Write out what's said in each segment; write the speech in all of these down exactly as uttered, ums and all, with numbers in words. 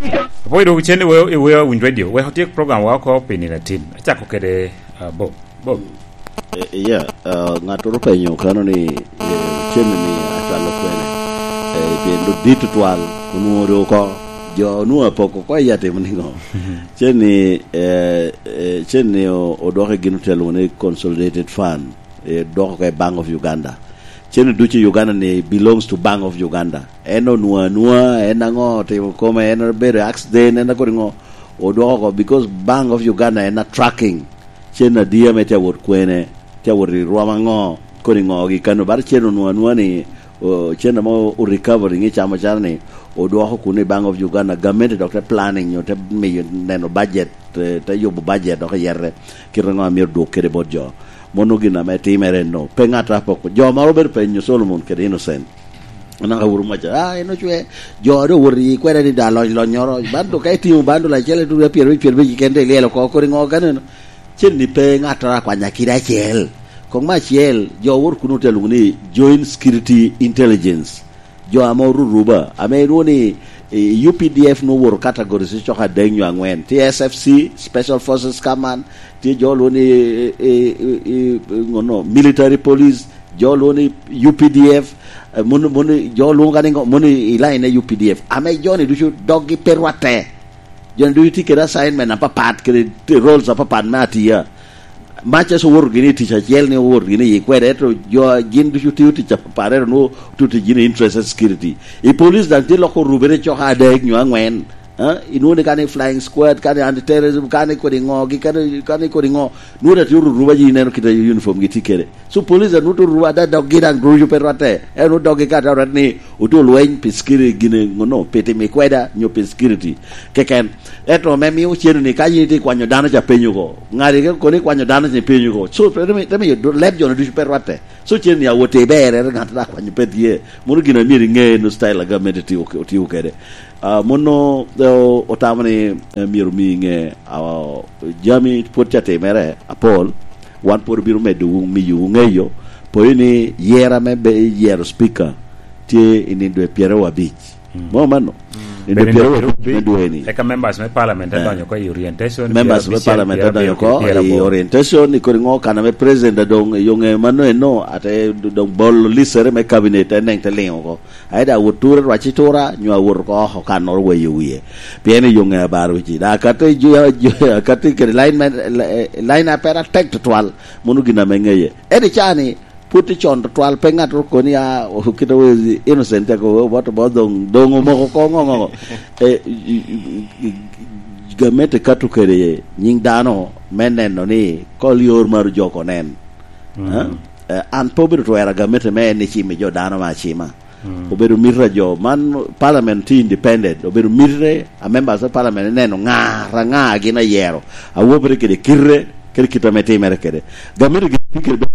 Apoyo dok cen i Weo, i Weo Awiny Radio. Wek otyek program wa oko pi nino atin. Acako kede, ah, Bob. Bob. Eh, yeah, ah, ŋattoro openyo kano ni, eh, cen ni acwalo kwene. Eh, pien dok dit tutwal, onwoŋo dok oko. Jo onwoŋo apoko oko i atimo niŋo? Cen ni, eh, eh, cen ni o-, odoko i gin otelo ni Consolidated Fund, eh, doko oko i Bank of Uganda. Cen ni ducu i Uganda ni belongs to Bank of Uganda. En onwoŋo anwoŋa, en aŋo otimo kome, en obedo accident, en akodi ŋo, odwoko oko, because Bank of Uganda en a tracking. Cen adi ame tye awot kwene, tye awot i rwom aŋo, kodi ŋo gi kano, bala cen onwoŋo anwoŋa ni, o, cen ame o recovery ŋe camo cano ni, odwoko kuno i Bank of Uganda, gamente dok te planning nyo te miyo neno budget, te, te yubo budget dok iyete, kite ŋo amyero dwok kede bot jo. Mono gin ame timere no. Pe ŋat a poko. Jo moro obedo penyo Solomon kede Innocent. Anaka wuro maca, ah, en ocwe, jo a doŋ owoto i kweda ni da lony lonyoro, bandu ka itimo bandu lacel ituno ya pyerabic, pyerabic keken te ilyelo oko, kodi ŋo kaneno? Cen ni pe ŋattoro akwanya kidi acel. Kong me acel, jo wot kuno te lwoŋo ni Joint Security Intelligence. Jo ame oruruba, ame ilwoŋo ni, eh, U P D F nwoŋo owoto categories cok adek nyo aŋwen. Tye S F C, Special Forces Command, tye jo lwoŋo ni, eh, eh, eh, eh, ŋono, Military Police, jo lwoŋo ni U P D F, eh, mono, mono, jo lwoŋo ka ni ŋo, mono i line ne U P D F. Ame jo ni ducu doggi pe rwatte. Jo ni ducu tye kede assignment apapat, kede roles apapat me atiya. Mac aso owoto gini i tic acel ni owoto gini i kwede, ento jo gin ducu tiyo tic apapat, ento nwoŋo tuti gini interest security. I police daŋ tye loko orubere cok adek nyo aŋwen. Ah, inwoŋo ni kani flying squad, kani anti-terrorism, kani kodi ŋo, gi kani, kani kodi ŋo. Nwoŋo dati oruruba ji ineno kite uniform gi tye kede. So police a nwoŋo oruruba ada doggi daŋ ducu pe rwatte. En nwoŋo doggi ka dok rwat ni oto lweny pi security gine ŋono, pi timo i kweda, nyo pi security. Keken. Ento me mio cen ni ka yin itye kwanyo dano ca penyo ko. Ŋari ke koni kwanyo dano ca penyo ko. So, te mi, te mi do-, leb jo ducu pe rwatte. So cen ni awot i berre, ŋat a kwanyo pe tye. Mono gin a myero iŋe no style a gamente tio, otio kede. Ah, mono, eh, o-, otamo ni, eh, myero omi iŋe, ah, jami pwod ca timere apol, wan pwod obino medo wu, miyo wu ŋeyo, poyo ni yera me be-, yero speaker tye i nindo e pyeraryo abic. Mm. Mo mano? Mm. Nindo e pyeraryo abic me dwe ni. Eka members me parliament, eh, adonyo ko i orientation, members me parliament adonyo ko i orientation, i kodi ŋo kana me president adong, yo ŋe mano eno, ate d-, dong bolo lisere me cabinet, te neng te liŋo ko. Aye da awot ture rwac i tura, nyo awot oko oko kannoro weyo wie. Pien i yo ŋe abaro ci. Da akati ju-, ju-, akati kede line man, li-, line a pera tek tutwal, mono gin ame ŋeye. Ento i caa ni, pwod tye con tutwal, pe ŋat oko ni, ah, o-, kite we innocent te ko, o-, bot, bot dong, dong omoko ko ŋo, ŋo, ŋo. Eh, i, i, i, i, gamente kato kede nyiŋ dano me neno ni kol yor maro jo oko nen. Mm. Eh? Eh, an pe obedo twero gamente me en ni cimo jo dano me acima. Mm. Obedo mito a jo man, parliament tye independent, obedo mito a members of parliament neno ŋa, ra ŋa gin ayero, awopere kede kite, kede kite ame timere kede. Gamente gin tye kede,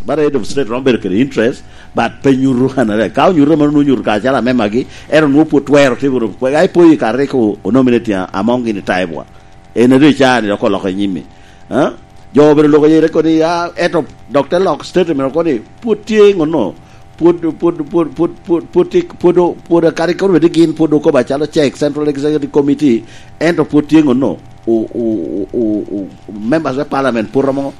but head of state romo bedo kede interest, but pe nyuto anare. Ka onyuto mano, nwoŋo nyuto kacalo amemagi, ento nwoŋo pwod twero timo, ai poyi ka rik o-, onominate a-, among gini taibwa. En ado i caa ni dok oloko i nyimi. Ah? Jo obedo loko yere kodi, ah, eto dok te lok statement kodi, pwod tye ŋono, pwod, pwod, pwod, pwod, pwod, pwod tye, pwod o-, pwod kadi kono bed gin pwod okobo acalo cek Central Executive Committee, ento pwod tye ŋono, o-, o-, o-, o-, o-, members me parliament pwod romo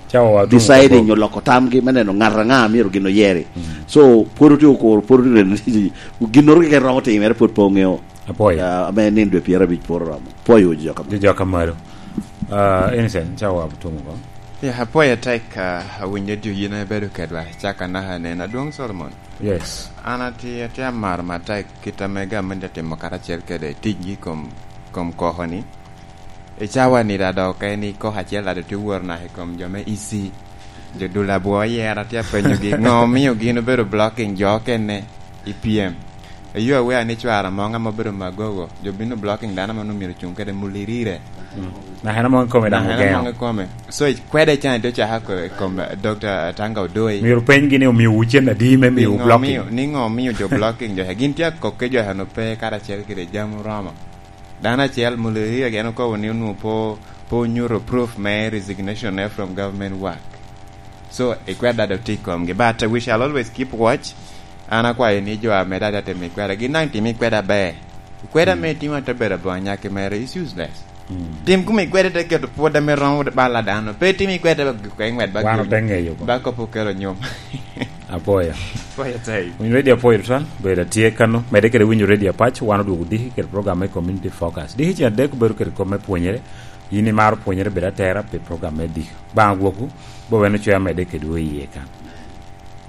deciding nyo loko tamgi me neno ŋat aŋa myero gin oyeri. Mm. So, pwod otye okuro, pwod otye reno ni ginnoro keken romo timere, pwod pe oŋeo. Apwoyo. Ah, ame nindo dwe pyerabic pwod oromo. Pwoyo jo ka malo. Jo, jo ka malo. Ah, Innocent, ca wa tumo ko. Ya, apwoyo tek, ah, awinyo dyo yin abedo kedwa, caka naka nen. Adwoŋ Solomon. Yes. An atye, atye amaro matek kit ame gamente atimo karacel kede ticgi kom, kom koko ni. I cawa ni da dok en i koko acel da dok tye woro naka i kom jo me E C. Jo dul abwo yera tye apenyogi, ŋo omio gin obedo blocking jo okene i pyem? Eyo awea ni cwara moŋ ame obedo magogo, jo bino blocking dano ame onwoŋo myero ocuŋ kede mulirire. Mm. Naka en amoŋ i kome daŋ ogeo. Naka en amoŋ i kome. So, i kwede can ite ocaka ko-, i kom, eh, Doctor Atanga Odoi. Myero openygi ni omio wu cen adi me mio wu blocking? Ni ŋo omio, ni ŋo omio jo blocking jo? Gin tye akokke jo eno pe karacel kede jami oromo. Dano acel, Mulirire, gin okobo ni onwoŋo po, po onyuto proof me resignation ne from government work. So, i kweda dok tye i komgi. But we shall always keep watch. An akwayo ni jo ame dada timo i kweda, gin daŋ tim i kweda aber. Kweda me timo atabera bo anyaki mere is useless. Tim kuma ikwede te keto pwod ame romo bala dano. Pe tim ikwede ba gik kwe ngwed ba Wan giri. Ote ngeyo ko. Ba kop okelo nyom. Apoya. Poya tai. Winyo radio apoyo twan, bedo atye kano. Mede kede winyo radio apac, wan odwogo diki kede program me Community Focus. Diki cen adek bedo kede kom me pwonyere. Yin imaro pwonyere bedo atera pi program me diki. Bang' gwoku, bo weno coya mede kede wo iye kan.